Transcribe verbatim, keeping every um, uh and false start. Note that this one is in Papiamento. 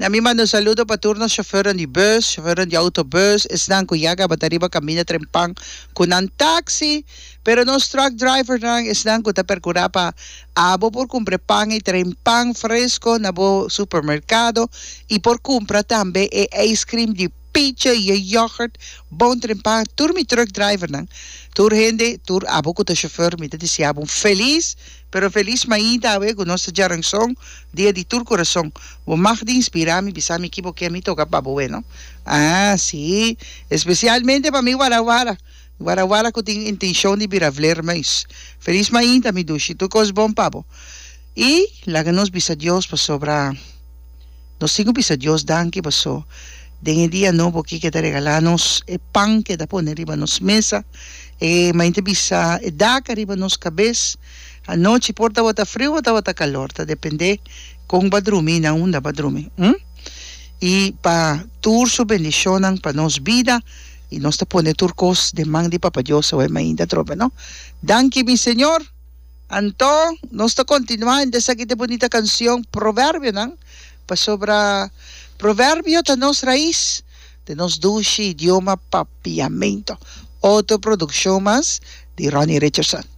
Na mi manda un saludo pa tur nos chauffeur di bus, chauffeur di autobus, esnan ku ya kaba ta riba kaminda trempan ku nan taxi, pero nos truck driver nan esnan ku ta perkurá pa abo por kumpra pan i trempan fresco na bo supermerkado i por kumpra tambe e ice cream di picha i e yoghurt bon trempan. Tur mi truck driver nan, tur hende, tur abo ku ta chauffeur, mi ta deseá un felis, pero felis mainta awe ku nos ta djaranson, dia di tur kurason. Bo mag di inspirá mi, bisa mi ki bo ke mi toka pa bo, no? Ah, sí, espesialmente pa mi warawara. Warawara ku tin intenshon di bira vleermuis. Felis mainta, mi dushi, tur kos bon pa bo. I laga nos bisa Dios pasobra nos tin ku bisa Dios danki paso den e dia nobo ki ku e ta regalá nos, e pan ku e ta pone riba nos mesa, e mainta bisa e dak riba nos kabes. Anochi por tabata friu o tabata kalor, ta dependé kon bo a drumi, na unda bo a drumi. Hm? I pa tur su bendishonnan pa nos bida i nos ta pone tur kos den man di Papa Dios awe mainta trobe, no? Danki, mi Señor. Anto, nos ta kontinuá esaki ta bunita kanshon Proverbionan, pasobra proverbio ta nos rais, di nos dushi idioma Papiamento. Otro produkshon mas di Ronnie Richardson.